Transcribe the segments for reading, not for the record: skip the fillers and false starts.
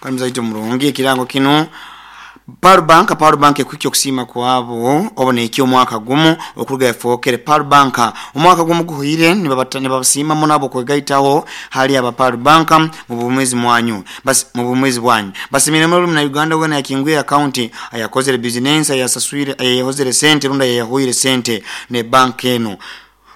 Kandi muzaito murungi ekirango kinu Pearl Bank Pearl Bank ekuhikya okusiima kwabo obu nehikya omwaka gumu okuruga efookere Pearl Bank. Omwaka gumu guhweire nibabasiima muno habw'okwegaitaho hali aba Pearl Bank mu bwomeezi mwanyu mu bwomeezi bwanyu. Basiimire muno buli Munauganda weena ayakingwire akaunti, ayakozere bizinensi, ayasaswire, ayayehozere sente rundi ayayahwire sente ne bank enu.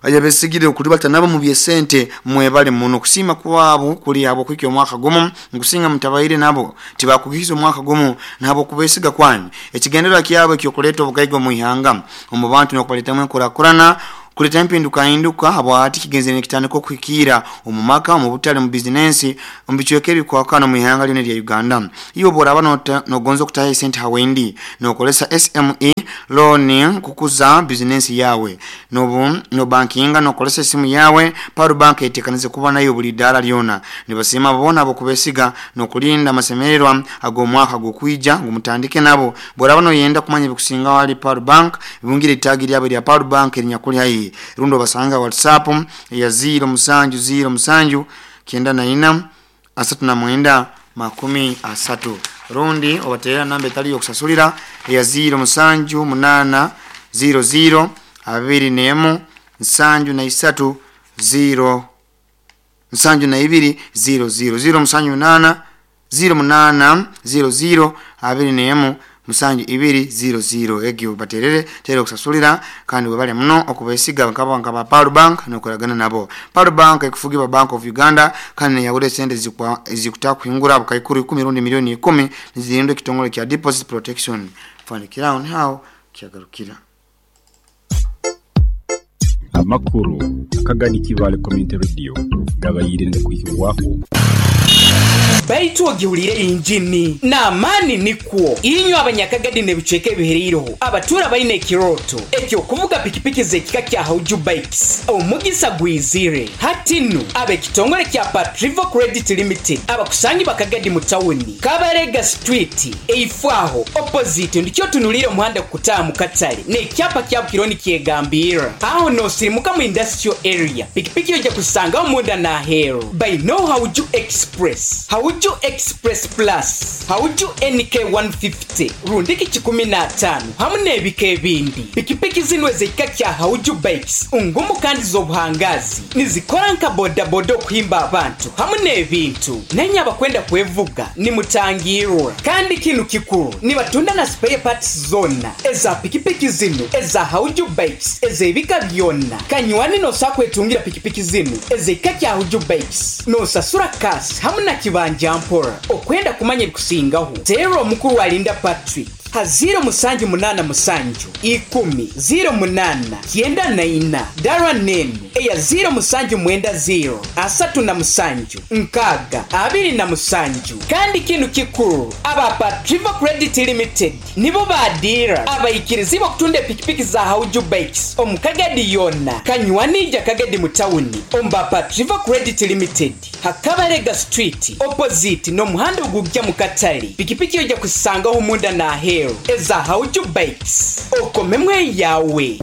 Ayabesigire okulibata nabo mu by'esente mwebale muno. Okusiima kwabo kuli habw'okuhikya omwaka gumu. Nkusinga mutabaire nabo tibakuhikize omwaka gumu nahabw'okubesiga kwanyu. Ekigendererwa kyabo eky'okuleeta obugaiga omu ihanga, omu bantu n'okubaletamu enkurakurana, kuleeta empindukahinduka habwahati kigenzere nikitandika okuhikiira omu maka, omu butale, omu bizinensi, omu bicweka ebikwakana omu ihanga lyona erya Uganda. Iwe obworaaba nogonza okutaha esente ha Wendi nokozesa SME loan kukuza bizinensi yaawe. Nobu nobankinga nokozesa esimu yaawe, Pearl Bank etekanize kuba naiwe buli idaara lyona. Nibasiima boona abokubesiga nokulinda amasemererwa ag'omwaka gukwija ngu mutandike nabo. Bworaba noyenda kumanya ebikusingaho hali Pearl Bank, bungira itaagi lyabo erya Pearl Bank erinyakuli haihi rundi obasange ha WhatsApp eya ziiro musanju ziiro musanju kyenda na ina 39 30 rundi obaterera namba etali y'okusasulira eya ziiro musanju munaana ziiro ziiro abiri n'emu nsanju na isatu ziiro nsanju na ibiri ziiro ziiro ziiro musanju munaana ziiro munaana ziiro ziiro abiri n'emu musanju ibiri ziiro ziiro egyo baterere teri okusasulira kandi webale muno okubesiga nkabo nka ba Pearl Bank nokoragana nabo. Pearl Bank ekufugibwa Bank of Uganda kandi neyahura esente ezikutakuhingura bukaikuru ikumi rundi milioni ikumi nizirindwa ekitongole kya Deposit Protection Fund. Kiraho nihaho kyagarukira. Amakuru akagani Kibaale Community Radio gabaire nigakwihibwaho. Baitu ogihulire injini n'amaani nikwo. Inywe Abanyakagadi n'ebicweka ebihereireho abatuura baine ekirooto eky'okuvuga pikipiki z'ekika kya Hauju Bikes, omugisa gwizire. Hati nu, ab'ekitongore kya Patrivo Credit Limited abakusangibwa Kagadi mu tawuni, Kabarega Street, eifo aho, opposite, ndikyo otunuliire omuhanda kukutaaha mu katale n'ekyapa kyabo kiriho nikyegambirra. Aho n'osirimuka mu Industrial Area, pikipiki oija kuzisangaho munda n'aheeru. Baineo Hauju Express, Hauju Express Plus, Hauju NK 150 rundiki kikumi n'ataano hamu n'ebika ebindi. Pikipiki zinu ez'ekika kya Hauju Bikes ngumu kandi z'obuhangaazi. Nizikora nka bodaboda okuhimba abantu hamu n'ebintu. Nainye abakwenda kwevuga nimutangirwa. Kandi kinu kikuru, nibatunda na spare parts zoona eza pikipiki zinu eza Hauju Bikes ez'ebika byona. Kanywani nosobola kwetungira pikipiki zinu ez'ekika kya Hauju Bikes nosasura cash hamu na kibanja mpora. Okwenda kumanya ebikusingaho, teera omukuru Alinda Patrick. Ha ziiro musanju munaana musanju ikumi ziiro munaana kyenda na ina dara n'enu eya ziiro musanju mwenda ziiro 37 6 27. Kandi kinu kikuru, aba Patrivo Credit Limited nibo ba diira abaikirizibwa okutunda epikipiki za Hauju Bikes omu Kagadi yoona. Kanywani ija Kagadi mu tawuni omu ba Patrivo Credit Limited. Ha Kabalega Street opposite n'omuhanda ogugya mu katale, pikipiki oija kuzisangaho munda n'aheeru eza Hauju Bikes. Okomemu eyawe.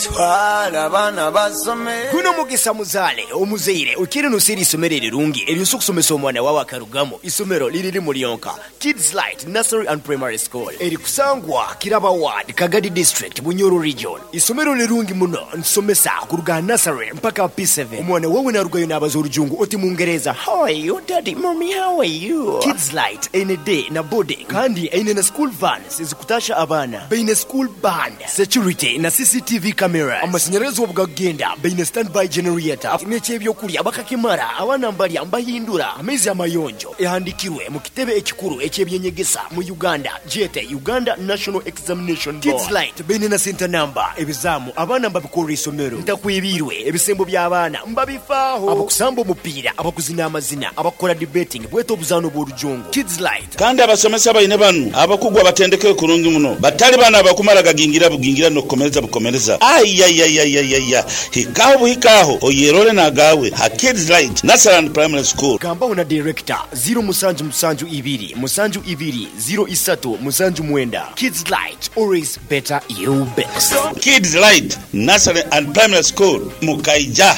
Twala abaana basome. Guno mugisa muzaale omuzaire oikaire noseera eisomero erirungi eryosobola okusomesa omwana wawe akarugamu. Isomero liri limu lyonka, Kids Light Nursery and Primary School erikusangwa Kiraba Ward, Kagadi District, Bunyoro Region. Isomero lirungi muno, nitusomesa kuruga aha nursery mpaka aha P7. Omwana wawe narugayo nabaza orujungu oti mungereza, How are you daddy, mummy how are you? Kids Light eine day na boarding kandi eine na school vans ezikutasha abaana. Baine school band, security na CCTV cameras. Amashanyarazi obu gakugenda baine standby generator. N'eky'ebyokurya bakakimara, abaana mbarya mbahindura amaizi amayonjo. Ehandikirwe mu kitebe ekikuru eky'ebyenyegesa mu Uganda gyete Uganda National Examination Board. Kids Light baine na senta namba, ebizaamu abaana mbabikorera isomero. Ntakwebiirwe, ebisembo by'abaana mbabifaaho. Abakusamba omupiira, abakuzina amazina, abakukora debating bwete obuzaano bw'orujungu. Kids Light. Kandi abasomesa baine banu abakugu abatendekeirwe kurungi muno, batali banu abakumara gagingira bugingira n'okukomereza bukomereza. Aiaiaiaiaia! Hikaho buhikaho oyerole n'agaawe ha Kids Light Nursery and Primary School. Gambaho na Director, ziiro musanju musanju ibiri musanju ibiri ziiro isatu musanju mwenda. Kids Light, always better you best. Kids Light Nursery and Primary School, Mukaija.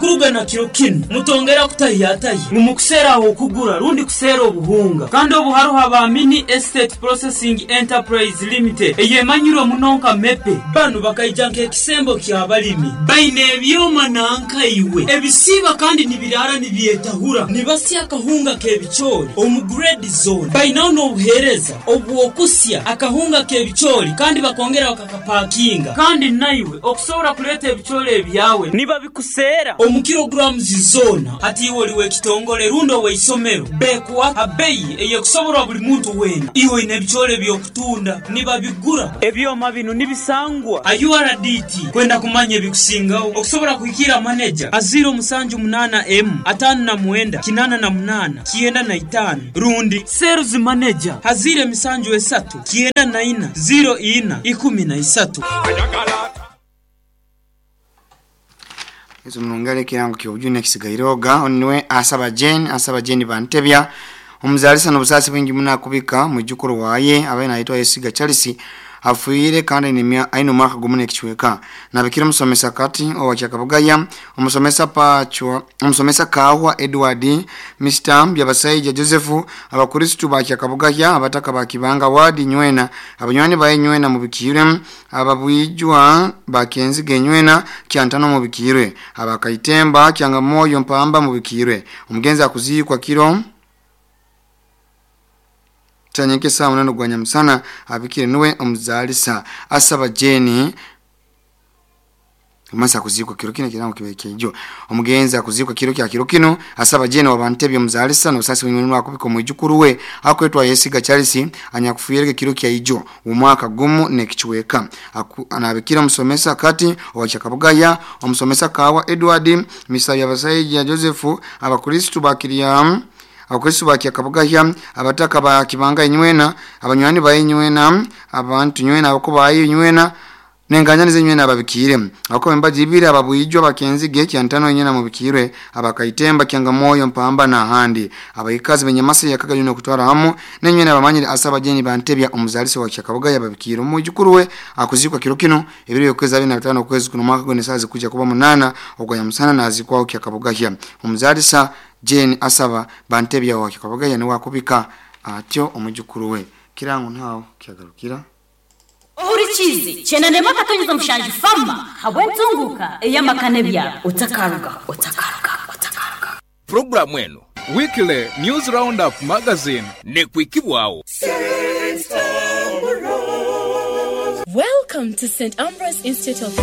Okuruga na kiro kinu mutongera kutahiyatahi ngu mukuseera ah'okugura rundi kuseera obuhunga. Kandi obu haroho aba Mini Estate Processing Enterprise Limited eyemanyirwe muno nka MEPE. Banu bakaija nk'ekisembo ky'abalimi. Baine ebyoma nanka iwe ebisiiba kandi nibiraara nibyetahura. Nibasya akahunga k'ebicoori omu grade zoona. Bainaho n'obuheereza obw'okusya akahunga k'ebicoori kandi bakongera bakakapakinga. Kandi naiwe okusobora kuleeta ebicoori ebyawe nibabikuseera omu kilograms zoona. Hati iwe oli w'ekitongole rundi ow'eisomero, bekuha ha beyi ey'ekusoborwa buli muntu weena. Iwe oine ebicoori eby'okutunda, nibabigura. Ebyoma binu nibisangwa ha URDT. Kwenda kumanya ebikusingaho, okusobora kuhikiira maneja ha 078 emu 59 88 95 rundi Sales Manager ha 073 94 04 13. Ezo munongere ekirango ky'obujune kisigaireoga oniwe asaba Jane, asaba Jane Bantebya omuzalisa n'obusaasi bwingi muno akubika mwijukuru waye abaye naitwa Yesiga Charles afiire kandi aine omwaka gumu n'ekicweka. Nabikira omusomesa kati owa Kyakabugaya, omusomesa Pachwa, omusomesa Kahwa Edward, Mr. Byabasaija Joseph, abakristu ba Kyakabugaya, abataka ba Kibanga Ward Nywena, abanywani baye Nywena mubikirwe, ababwijwa bakenziga Nywena Kyantano mubikirwe, abakaitemba Kyangamoyo Mpamba mubikirwe. Omugenzi akuzikwa kiro Chanyeke saa munano gwa nyamusana abikire nuwe omuzalisa asaba Jane Masa kuzikwa kiro kino kirango kibe kijo. Omugenzi akuzikwa kiro kya kiro kino asaba Jane wabantebye omuzalisa n'osasi w'imwe akubika omwijukuru we akwetwa Yesiga Charles anyakufuyereke kiro kya ijo omwaka gumu n'ekichweka. Anabikira omusomesa kati owa Kyakabugaya, omusomesa Kawa Edward, Mr. Yabasaija Joseph, abakristu bakiria abakristu ba Kyakabugaya, abataka ba Kibanga Nywena, abanywani ba Nywena, abantu Nywena abakubayo Nywena nenganya nize nywena ababikire abako embaji ibiri ababwijwa bakenzige kyantano nywena mubikire abakaitemba Kyangamoyo Mpamba na handi abayikazi benyamasa yakaga yuno kutwara hamu nenywena abamanyire asaba Jeni Bantebya omuzalisi wa Kyakabugaya babikire omujukuru we akuzikwa kiro kino ebiro yokwezi 25 okwezi kuno mwaka gwene sazi kuja kuba munana ogwa musana nazikwaho Kyakabugaya. Omuzalisa Jane asaba Bantebya wa Kyakabugaya ni wakubika atyo omujukuru we kirango ntaho kyagarukira. Ohurikize chenanema katonyeza mushanju fama habwentunguka eyamakane bya otakaruga otakaruga otakaruga. Programu eno Weekly News Roundup Magazine nekwikibwawo. Welcome to St. Ambrose Institute of